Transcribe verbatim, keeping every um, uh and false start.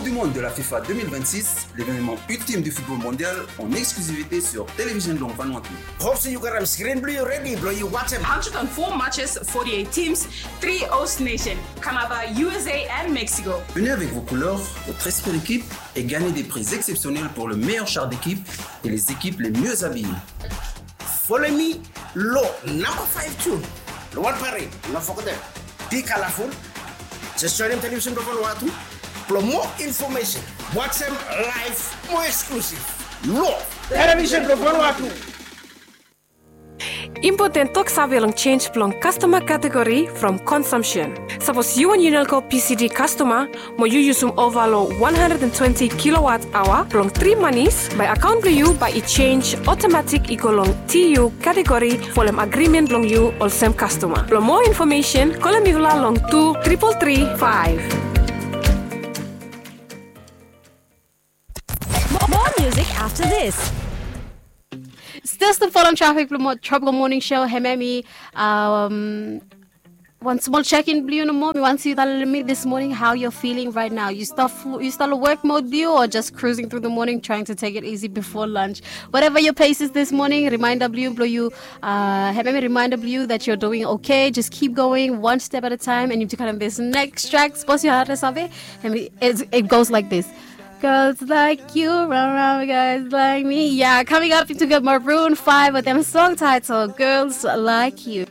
Du monde de la FIFA deux mille vingt-six, l'événement ultime du football mondial en exclusivité sur Television Long Vanuatu. Hope se yu gat skrin blong yu redi blong yu wajem. Hundred and four matches, forty-eight teams, three host nation, Kamaba, U S A and Mexico. Venez avec vos couleurs, votre esprit d'équipe et gagnez des prix exceptionnels pour le meilleur char d'équipe et les équipes les mieux habillées. Folem mi long namba five tu long wan parade. No fogetem, be colorful. Jes joenem Television blong Vanuatu blong moa infomesen. Wajem laev moa eksklusiv long Television blong Vanuatu. Impoten toksave long jenj blong kastoma kategori from konsumsen. Sapos yu wan Unelco P C D kastoma mo yu yusum ova long one hundred and twenty kilowatt aoa blong tri manis, bae akaon blong yu bae i jenj otomatik i go long T U kategori folem agrimen blong yu olsem kastoma. Blong moa infomesen, kolem mifala long tu tripol tri faef. More music after this. Stil stap folem trafik blong Tropical Morning Show, hemia mi. Wan smol check-in blong yu nomo. Mi wantem yu talem mi this morning how you're feeling right now. Yu stap long work mode blong yu or just cruising through the morning trying to take it easy before lunch? Whatever your pace is this morning, reminder blong yu blong yu, hemia mi, reminder blong yu that you're doing okay. Just keep going one step at a time, and if yu talem this next track, sapos yu harim, save, hemia mi, it goes like this. Girls like you, run around with guys like me. Yeah, coming up, yu gat Maroon five with dem song title Girls Like You.